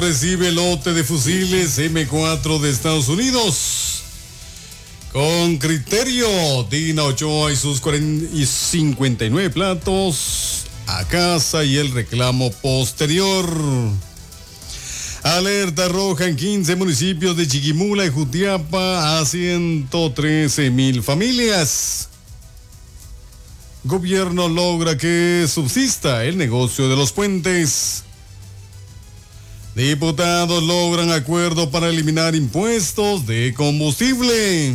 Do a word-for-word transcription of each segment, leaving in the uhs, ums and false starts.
Recibe lote de fusiles eme cuatro de Estados Unidos. Con criterio, Dina Ochoa y sus cuarenta y cincuenta y nueve platos a casa y el reclamo posterior. Alerta roja en quince municipios de Chiquimula y Jutiapa a ciento trece mil familias. Gobierno logra que subsista el negocio de los puentes. Diputados logran acuerdo para eliminar impuestos de combustible.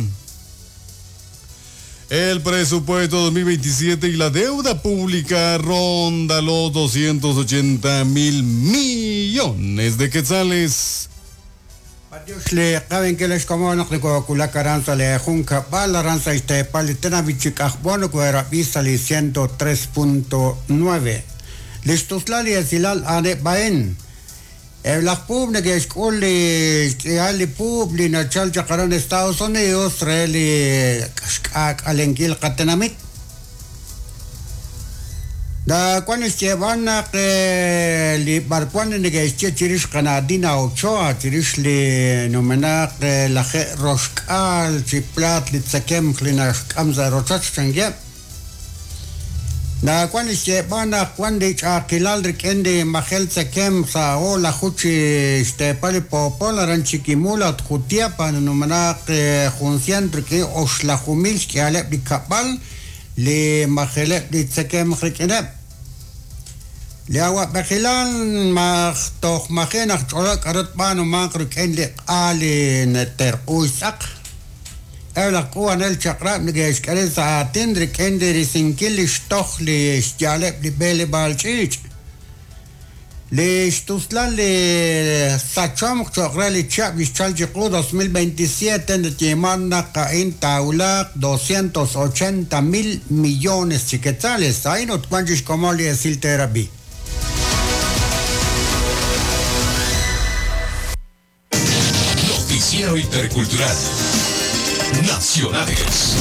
El presupuesto dos mil veintisiete y la deuda pública ronda los doscientos ochenta mil millones de quetzales. Le caben que les como no le cocula caranza le junca bala ranza y te palitena bichicajbono cuera vista le ciento tres punto nueve. Listos la silal ane baen. El pub que es culi ali pub li nachal chakaran Estados Unidos reli alenkil katenamit. Da cuando se van a que li barcuan en que este chirish canadina Ochoa chirish li nomena que la roscal chiplat li tsakem klinash kamza rochach changue. Da cuando se van a cuando aquilal rikende majel tsakem sa o la juchi este pali popola ran Chiquimula Jutiapa nomena que juncian que oslajumil que ale bikapal li majele li tsakem rikene. Le agua bajilan maj toj majen aj cholak arot bano manqro ken li ali neterquisak. El cuan el chakra ni que escareza atendre ken de risinkil stoj li xyaleb li bele balchich. Le stuslan le sacham chakra li chap li chalchiqu dos mil veintisiete de Yemana Caín Taulak doscientos ochenta mil millones chiquetzales. Ahí no cuanchis como le decir terapia. Noticiero Intercultural Nacionales.